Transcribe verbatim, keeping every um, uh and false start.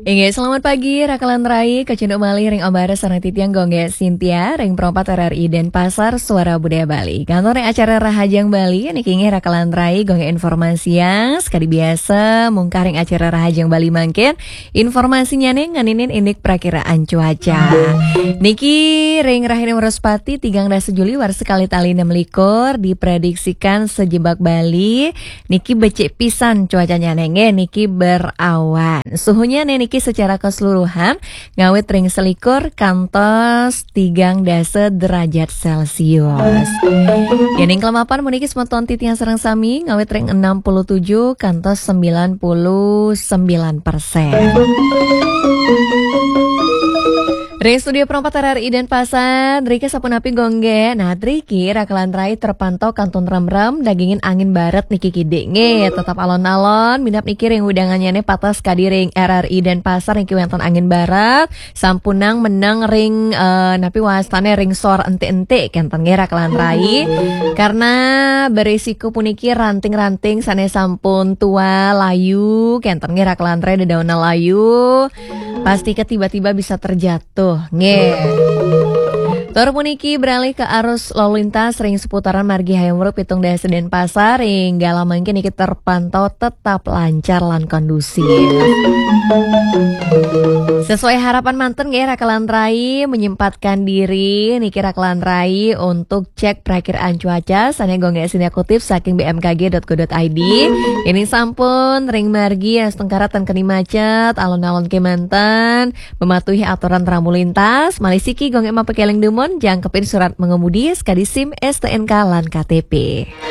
Inggih, selamat pagi, Rakalan Rai, kacunduk malih ring Om Baras sareng titiang Gung Gé Sintia, ring Pro empat R R I Denpasar, Suara Budaya Bali. Kantun ring acara Rahajeng Bali, niki inggih Rakalan Rai, Gung Gé informasiang, sekadi biasa, mungkah ring acara Rahajeng Bali mangkin, informasinyané ngeninin indik prakiraan cuaca. Niki ring rahina Wraspati, tigang dasa Juli, warsa kalih tali enam likur, diprediksikan sajebag Bali, niki becik pisan cuacanya nggih, niki berawan. Suhunya niki secara keseluruhan ngawit ring selikur kantos tigang dasa derajat Celcius. Yéning kelemapan puniki semeton titiang sareng sami ngawit ring enam puluh tujuh kantos sembilan puluh sembilan persen. Ring studio Pro empat R R I Denpasar, driki sapunapi Gung Gé? Nah, driki Rakalan Rai terpantau kantun remrem dagingin angin barat niki kidik nggih. Tetap alon-alon, minab niki ring wewidangannya patas kadi ring R R I Denpasar niki wénten angin barat, sampunang meneng ring, eh, napi wastané ring sor entik-entik kénten nggih Rakalan Rai. Karena berisiko puniki ranting-ranting sané sampun tua layu kénten nggih Rakalan Rai, dedaunan layu. Pasti ke tiba-tiba bisa terjatuh. Tuh, nggih. Tur puniki beralih ke arus lalu lintas ring seputaran margi Hayam Wuruk pitung dasa Denpasar, ring galah mangkin niki terpantau tetap lancar lan kondusif. Sesuai harapan mantun nggih Rakalan Rai menyempatkan diri niki Rakalan Rai untuk cek perakiraan cuaca sané Gung Gé Sintia kutip saking B M K G dot go dot I D. Yéning sampun ring margi astungkara ten keni macet, alon-alon kémanten, mematuhi aturan rambu lintas, malih siki Gung Gé mapakéling dumun, jangkepin surat mengemudi, sekadi SIM, S T N K, lan K T P.